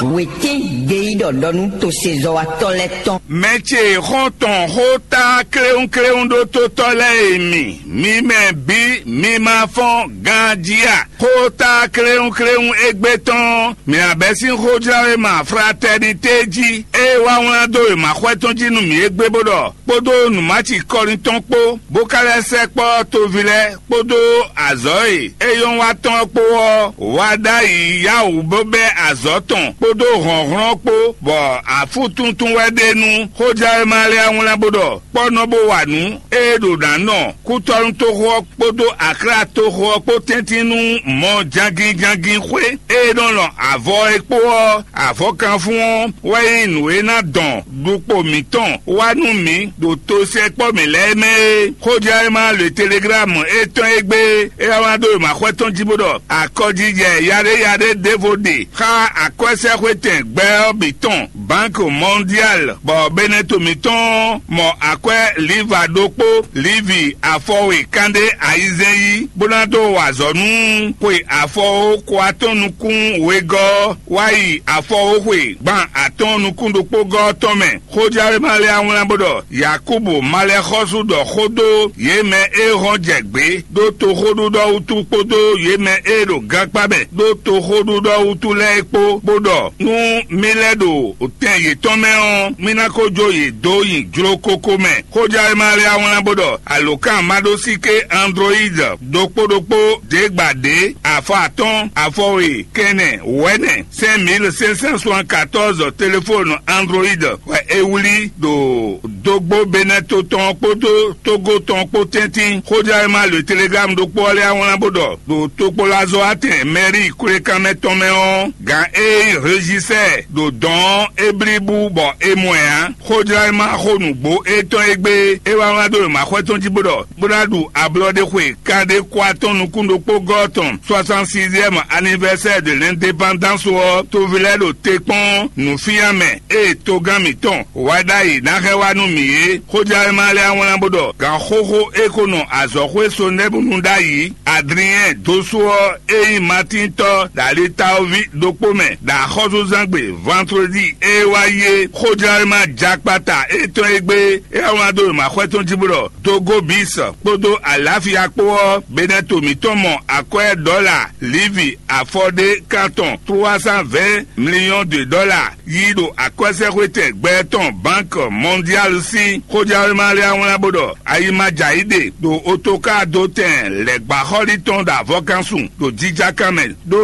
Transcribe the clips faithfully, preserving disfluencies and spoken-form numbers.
Wětín gbeyíɖɔ ɖɔ nú tosezɔ́watɔ́ lɛ́ɛ tɔn. Mɛ ce xɔ́ntɔn xó tá kléwúnkléwún ɖó tótɔ́ lɛ́ɛ e mi, mi mɛ bǐ, mi ma fɔ́n ganjí a? Xó tá kléwúnkléwún égbé tɔn, mǐ abɛ́ sín xójlawéma fratɛ́nitée jí, ée wá wlán dó wěmaxwɛ tɔn jí nú mǐ égbé bó ɖɔ, kpódó nǔmáci kɔlin tɔn kpó, bó ka lɛ́ sɛkpɔ́ toví lɛ́ɛ kpódó azɔ̌ e é nyɔ́ wa tɔn ɔ́ kpó ɔ́, wá ɖ'ayǐ yáwǔ bó bɛ́ azɔ̌ tɔn kpódó hlɔ̌nhlɔ́n kpó, bɔ afútuntun wɛ ɖe nú xójlawéma lɛ́ɛ wlán bó ɖɔ, kpɔ́ nɔ bó wa nǔ, ée ɖo nǎ nɔ kútɔ́nútoxo ɔ́ kpódó aklátoxo ɔ́ kpó tɛ́ntin nú mɔ jangin jangin xwé e nɔ lɔn avɔ é kpó ɔ́, avɔkanfún ɔ́ wɛ nyí nǔ e ná dɔn ɖukpo mǐtɔn wá nú mǐ ɖo tosɛkpɔ́ mǐ lɛ́ɛ mɛ é. Xójlɛ́nma le teleglámu étɔn e gbé é wá wá dó e mǎxwɛ tɔn jí bó ɖɔ akɔjijɛ yaɖéyaɖé ɖěvo ɖe xá akwɛ́sɛ́xwetɛn gbɛ ɔ́ bǐ tɔn, Banque Mondiale, bɔ Beneto mǐtɔn mɔ akwɛ́ Liva ɖokpó, Livi afɔwe kanɖé ayizɛ́n yí, bó ná dó wa azɔ̌ nú xwe afɔwo ko atɔ́ɔ́n nukún wegɔ́ ɔ́, wá yi afɔwo xwe gban atɔ́ɔ́n nukún ɖokpó gɔ́ ɔ́ tɔn mɛ. Xójlɛ́nma lɛ́ɛ wlán bó ɖɔ Yakubu ma lɛ́ xɔ́sú ɖɔ xó dó yě mɛ e hɔn jɛ gbě ɖó toxóɖuɖɔ wútu kpódó yě mɛ e ɖo gankpá mɛ ɖó toxóɖuɖɔ wútu lɛ́ɛ é kpó, bó ɖɔ nú mí lɛ́ ɖo tɛn yětɔn mɛ ɔ́, mí ná ko jó yě dó nyi jló kókó mɛ. Xójlɛ́nma lɛ́ɛ wlán bó ɖɔ alǒkanmaɖósíké Android ɖokpó ɖokpó ɖě gba ɖě afɔ atɔ́ɔ́n afɔwe kɛnɛ wɛ̌nɛ cinq mille cinq cent soixante-quatorze téléfone Android wɛ é wlí ɖo dógbó Beneto tɔn kpódó Togo tɔn kpó tɛ́ntin. Xójlɛ́nma le Telegram ɖokpó ɔ́ lɛ́ɛ wlán bó ɖɔ ɖo tokpɔ́lazɔ́watɛn mɛ́ri kwlékanmɛ tɔn mɛ ɔ́, gǎn e nyí rejisɛ́ɛ ɖo dɔ̌n ɔ́ é blí bú bɔ é mɔ ɛ ǎ. Xójlɛ́nma xó nǔgbó étɔn e gbé é wá wlán dó wěmaxwɛ tɔn jí bó ɖɔ bó ná ɖu ablɔɖexwe kanɖé kó atɔ́ɔ́n nukún ɖokpó gɔ́ tɔn soixante-sixième anniversaire de l'indépendance ɔ́, toví lɛ́ɛ ɖo te kpɔ́n nǔfínyámɛ e togán mǐtɔn wá ɖ'ayǐ ná hɛn wá nú mǐ é. Xójlɛ́nma lɛ́ɛ wlán bó ɖɔ gǎn xóxó e ko nɔ azɔ̌xwé Sonɛ́bunu ɖ'ayǐ, Adriɛn dósú ɔ́ e nyí Matíntɔ́ ɖo Alitawoví ɖokpó mɛ ɖo axɔ́súzángbe Vandredi e wá yi é. Xójlɛ́nma jakpata étɔn e gbé é wá wlán dó wěmaxwɛ tɔn jí bó ɖɔ Dogobis kpódó Alafia kpó ɔ́, Beneto mǐtɔn mɔ akwɛ́ ɖɔla Livi afɔɖé kan tɔn trois cent vingt millions de dollars yí ɖo akwɛ́sɛ́xwetɛn gbɛ tɔn Banque Mondiale sín xójlɛ́nma lɛ́ɛ wlán bó ɖɔ ayi ma jɛ ayǐ ɖe ɖo otoká dó tɛn lɛ̌gbáxɔ́lí tɔn ɖo avɔkansun ɖo jijaka mɛ ɖó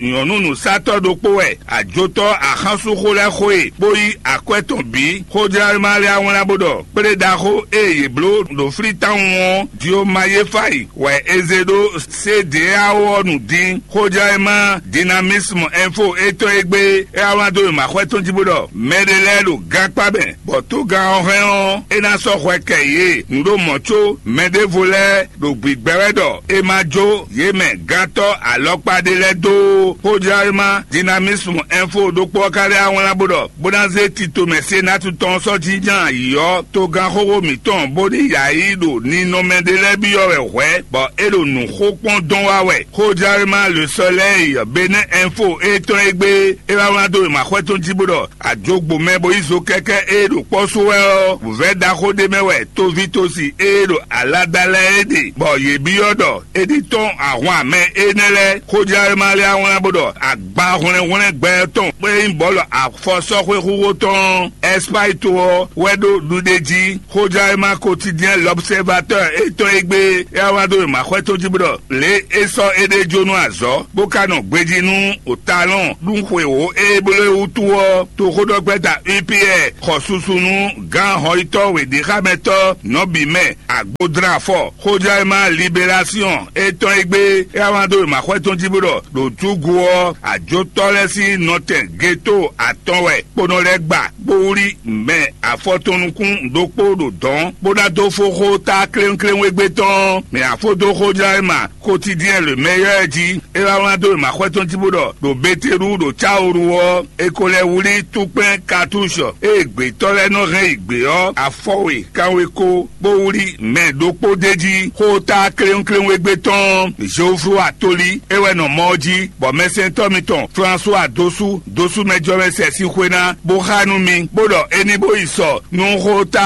nyɔ̌nu nǔsatɔ́ ɖokpó wɛ ajotɔ́ axánsúxó lɛ́ɛ xo e bó yí akwɛ́ tɔn bǐ. Xójlɛ́nma lɛ́ɛ wlán bó ɖɔ kplé ɖaxó e yě bló ɖo flítawun ɔ́, Diomayéfayi wɛ è zé ɖó C D A O ɔ́ nu dín. Xójlɛ́nma Dynamisme Info étɔn e gbé é wá wlán dó wěmaxwɛ tɔn jí bó ɖɔ mɛɖé lɛ́ɛ ɖo gankpá mɛ, bɔ togán ɔ́ hɛn ɔ́, é ná sɔ́ hwɛ kɛ yě nǔ ɖo mɔ̌ có mɛɖěvo lɛ́ɛ ɖo gbǐgbɛ́ wɛ ɖɔ è ma jó yě mɛ gántɔ́ alɔkpa ɖé lɛ́ɛ dó. Xójlɛ́nma Dynamisme Info ɖokpó ɔ́ ka lɛ́ wá wlán bó ɖɔ bó ná zé tito mɛ Senatu tɔn ɔ́ sɔ́ jínjɔ́n ayǐ ɔ́, togán xóxó mǐtɔn bó ní yǎ yi ɖo ninɔmɛ ɖé lɛ́ɛ byɔ́ wɛ hwɛ̌, bɔ é ɖo nǔxó kpɔ́n dɔn wá wɛ. Xójlɛ́nma Le Soleil, Benin Info étɔn e gbé é wá wlán dó wěmaxwɛ tɔn jí bó ɖɔ ajogbo mɛ bo yí zo kɛ́kɛ́ e ɖo kpɔ́ sú wɛ ɔ́, vɛ̌ ɖaxó ɖé mɛ wɛ tovítɔ́si e ɖo alada lɛ́ɛ é ɖe, bɔ yě byɔ́ ɖɔ é ní tɔ́n ahwan mɛ énɛ́ lɛ́ɛ. Xójlɛ́nma lɛ́ɛ wlán bó ɖɔ agba hwlɛ́nhwlɛ́n gbɛ tɔn e nyí bɔ̌lu afɔsɔ́xwé xúxó tɔn Ɛspáyi to ɔ́ wɛ ɖó ɖuɖéjí. Xójlɛ́nma Quotidien L'Observateur étɔn e gbé é wá wlán dó wěmaxwɛ tɔn jí bó ɖɔ lě e sɔ́ éɖée jó nú azɔ̌, bó ka nɔ gbejí nú òtalɔn ɖúnxwewǒ e bló e wútu ɔ́, toxóɖɔgbɛ́ta U P R xɔ susu nú gǎn hɔnyitɔ́ wěɖéxámɛtɔ́ nɔbǐ mɛ agbodlán afɔ. Xójlɛ́nma Libélasyɔn étɔn e gbé é wá wlán dó wěmaxwɛ tɔn jí bó ɖɔ ɖo júgu ɔ́, ajotɔ́ lɛ́ɛ sín nɔtɛn geto atɔn wɛ kponɔ lɛ́ɛ gba, bó wlí mɛ afɔtɔn nukún ɖokpó ɖo dɔ̌n, bó ná dó fó xó tá kléwúnkléwún égbé tɔn. Mɛ afó dó xójlɛ́nma Quotidien Le Meilleur jí é wá wlán dó wěmaxwɛ tɔn jí bó ɖɔ ɖo Betelú ɖo Cáoru ɔ́, è ko lɛ́ wlí túkpɛn katúṣɔ e gbětɔ́ wɛ nɔ hɛn yi gbě ɔ́, afɔwe kanweko bó wlí mɛ ɖokpó d'é jí. Xóta kléwúnkléwún égbé tɔn Zoflo Atoli é wɛ nɔ mɔ ɔ́ jí, bɔ mɛsɛntɔ́ mitɔn François Dosu Dosu mɛ jɔ mɛ sɛ sín xwé ná bó xá nú mi, bó ɖɔ é ní bó yi sɔ nú xóta